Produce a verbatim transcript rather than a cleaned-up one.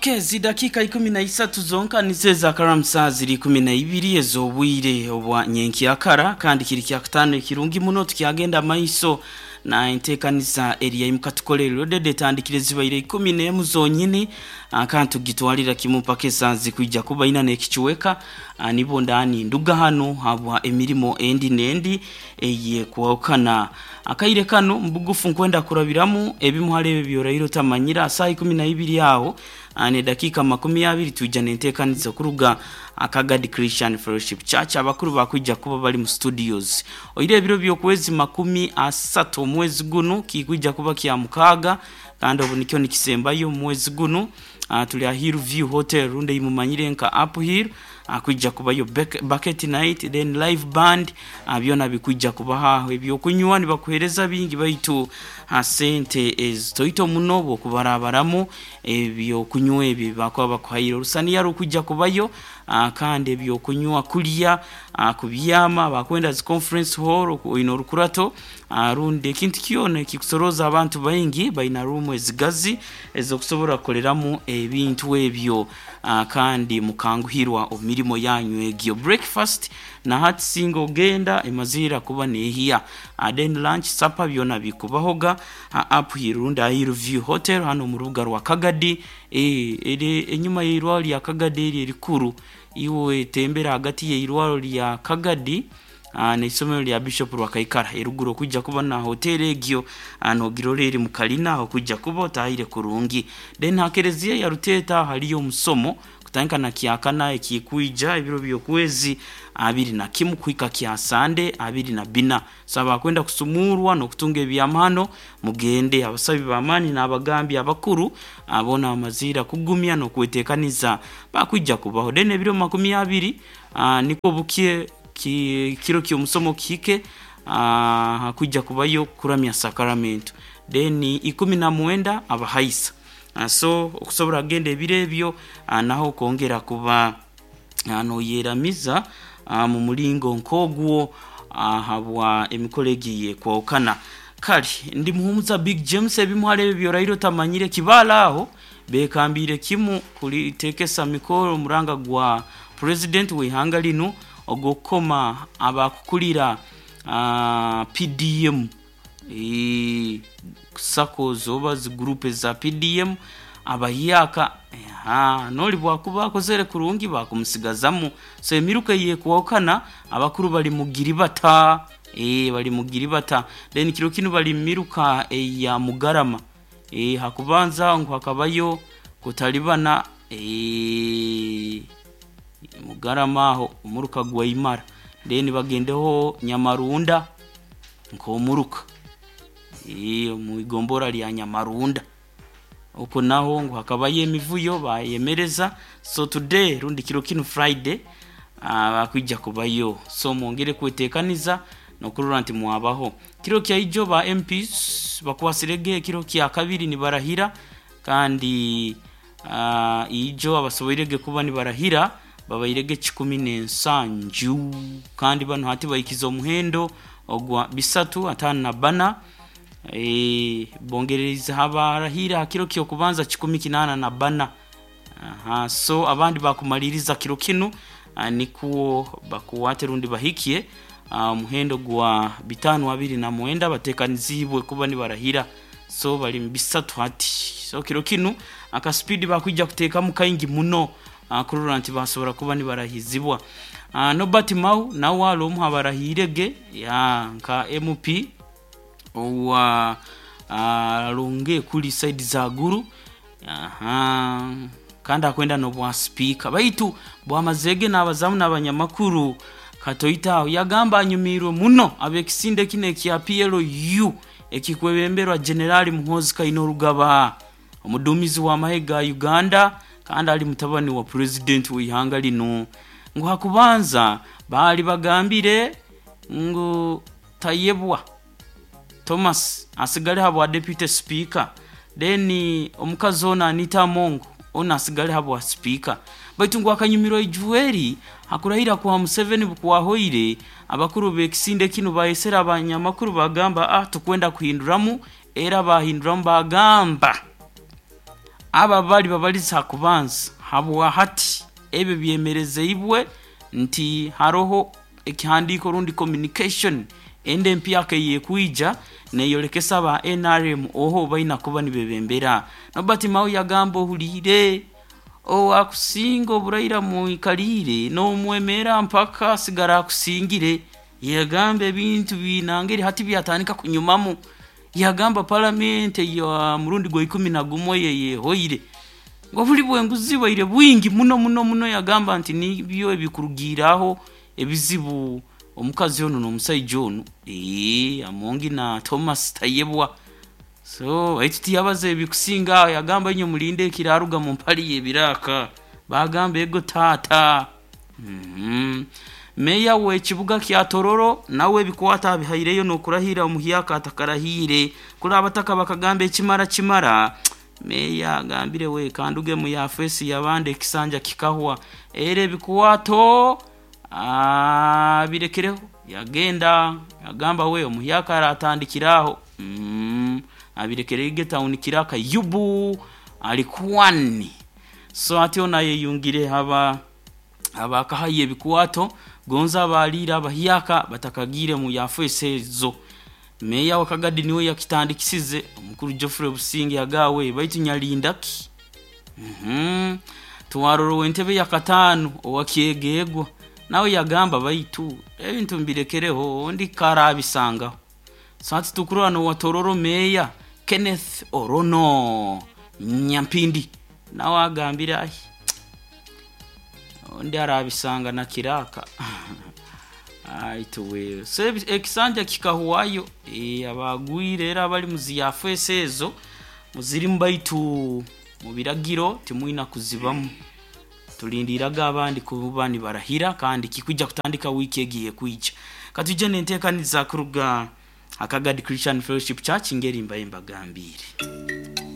Okay, zidakika ikumi na isatu zonka nizo ezakaramu saa ziri ikumi na ibiri ez'obwire obwa nyenkyakara, kandi kiri kyakutaano ekirungi muno. Tukyagenda maiso na enteekaniza eri yaimukatukolere rodede etandikire zibaire ikumi n'emu zonyini, ah, kandi tugitwalira kimu mpaka esaa zikwija kuba ina n'ekichweka. ah, nibo ndani nduga hano habwa emirimo endi n'endi eyekwahukana. Akaire kano mbugufu nkwenda kurabiramu ebimu hali ebyo byoraire otamanyira. Saa ikumi na ibiri aho ah, ne dakika makumi abiri tuija nenteekaniza kuruga Akagadi Christian Fellowship Church. Abakuru bakwija kuba bali mu studios oire ebiro by'okwezi makumi asatu omwezi guno kikwija kuba kya mukaaga, kandi obu nikyo nikisembayo omwezi guno. uh, tuli a Hill View Hotel runde imumanyire nka Up Hill, uh, kwijja kubayo bucket night, then live band, uh, byona bikwijja kubaha ebyokunywa nibakuhereza bingi, baitu uh, sente ezitoito muno bwokubarabaramu ebyokunywa ebyo bakuba bakuhaire. Orusaniya rukwijja kubayo, uh, kandi ebyokunywa, kulya, uh, kubyama bakwenda zi conference hall oine orukurato, uh, rundi ekintu kyona ekikusoroza abantu baingi, baina room ezigazi ezokusobora kukoreramu ebintu ebyo, uh, kandi mukanguhirwa omu mirimo yanyu egyo. Breakfast na hati singa ogenda emazira kuba nehiya, uh, then lunch, supper byona bikubahoga uh, up here rundi Hill View Hotel hano mu rubuga rwa Kagadi, e, ere enyuma y'irwaro lya Kagadi eri erikuru. Iwe tembera hagati y'irwaro lya Kagadi uh, n'isomero lya Bishop Rwakaikara eruguru, okujja kuba na hoteli egyo nogirora eri mu kalina aho kujja kuba otahire kurungi. Then ha kereziya ya Ruteta haliyo omusomo kutandika na kyakana ekikwija ebiro by'okwezi abiri na kimu kuhika kya Sande abiri na bina. So abakwenda kusumurwa n'okutunga ebyamahano mugende. Abasabi b'amaani n'abagambi abakuru abona amazira kugumya n'okwetekaniza bakwija kubaho. Then ebiro makumi abiri uh, niko bukie ki, kiro ky'omusomo kihike, uh, hakwijja kubayo kuramya sakaramento, then ikumi na mwenda abahaisa. uh, so okusobora kugenda ebiro ebyo, uh, naho kwongera kuba uh, noyeramiza uh, mu mulingo nk'ogwo uh, habwa emikoro egiye kwawukana. Kale ndi Muhumuza Big James. Ebimu hali ebyo byoraire otamanyire, kibaala aho bekambire kimu kulitekesa mikoro omuranga gwa president w'ihanga linu ogw'okukoma abakukulira uh, P D M, e, SACCOs oba zi group za P D M abahyaka. Aha, noli bwakuba akozere kurungi bakumusigazamu. So emiruka yekwawukana, abakuru bali mugiribata, e, bali mugiribata. Then kiro kinu bali miruka eya Mugarama, e, hakubanza ngu hakabayo kutalibana, e, Mugarama aho omuruka gwa Imara, then bagendeho Nyamarunda nk'omuruka e, mu igombora lya Nyamarunda uko naho ngo hakabayo emivuyo bayemereza. So today rundi kiro kinu Friday uh, bakwija kubayo, so mwongere kwetekaniza nokurora nti mwabaho. Kiro kya ijo ba M Ps bakwasirege, kiro kya kabiri nibarahira, kandi uh, ijo abasoboirege kuba nibarahira babairege kikumi n'ensanju, kandi bano hati bahikiza omuhendo ogwa bisatu ataano na bana. e, bongereza habarahira hakiro kyokubanza kikumi kinaana na bana. Aha, so abandi bakumaliriza kiro kinu, uh, nikuwo bakuwate rundi bahikie omuhendo uh, gwa bitano abiri na mwenda batekanizibwe kuba nibarahira. So bali mu bisatu hati. So kiro kinu akaspeed bakwija kuteekamu kaingi muno uh, kurora nti basobora kuba nibarahizibwa. uh, Norbert Mao nawe ali omu abarahirege ya nka M P owa uh, kuli side za Guru. Aha, kandi akwenda n'obwa speaker, baitu bwamazege n'abazamu n'abanyamakuru katoitaho yagamba anyumirwe muno ab'ekisinde kino ekya P L U ekikwebemberwa Generali Muhoozi Kainerugaba, omuduumizi w'amahe ga Uganda kandi ali mutabani wa president w'ihanga lino. Ngu hakubanza baali bagambire ngu Tayebwa Thomas asigale habwa deputy speaker, then omukazi ono Anita Among ono asigale habwa speaker, baitu ngu akanyumirwa ijuweri hakurahira kwa Museveni bukwahoire, abakuru b'ekisinde kino bayesera abanyamakuru bagamba, ah, tukwenda kuhinduramu. Era bahinduramu bagamba Aba bali babaliza kubanza habwa hati ebyo byemerezeibwe nti haroho ekihandiiko rundi communication ende empyaka eyekwija neyolekesa ba N R M oho baina kuba nibebembera. Norbert Mao yagamba ohuliire owakusinga oburaira muikalire n'omwemera mpaka sigara akusingire. Yagamba ebintu binangeri hati byatandika kunyumamu. Yagamba parliament ya murundi gwa ikumi na gumwe yehoire ngo buli bwenguzi bwaire bwingi muno muno muno. Yagamba nti nibyo ebikurugiraho ebizibu omukazi ono n'omusajja ono eh Amongi na Thomas Tayebwa. So baitu tiyabaze ebikusinga. Yagamba inyo mulinde ekiraruga mu mpali y'ebiraka. Bagamba ego tata. Mm-hmm. Meya w'ekibuga kya Tororo nawe ebikwata abihaireyo n'okurahira omuhyaka atakarahire. Kuri abataka bakagamba ekimara kimara. Meya agambire we kanduge mu yafesi yabande ekisanja kikahwa era ebikwato abirekereho. Yagenda yagamba we omuhyaka aratandikiraho. Mm, abirekerege town kiraka yubu alikuwani. So atyo naye yungire haba abakahaye ebikwato gonza abalira abahyaka batakagire mu yafesi ezo. Meya wa Kagadi niwe yakitandikisize omukuru Geoffrey Businge yagawe baitu nyalindaki. Mhm. Tuwaroro wentebe ya katano owakyegegwa nawe yagamba baitu ebintu mbirekereho ndi karabisanga. Sati tukurwa no watororo meya Kenneth Orono Nyampindi nawe agambira ahi ondi arabisanga na kiraka. Aituwe so ekisanja kikahuwayo e, abagwire era abali muziyafese ezo muzirimu baitu mu biragiro timwina kuzibamu. Tulindiraga abandi kuba nibarahira kandi kikuja kutandika wiki egiye kuija. Katuje nentekaniza kuruga Akagadi Christian Fellowship Church ngeri mbaye mbagambire.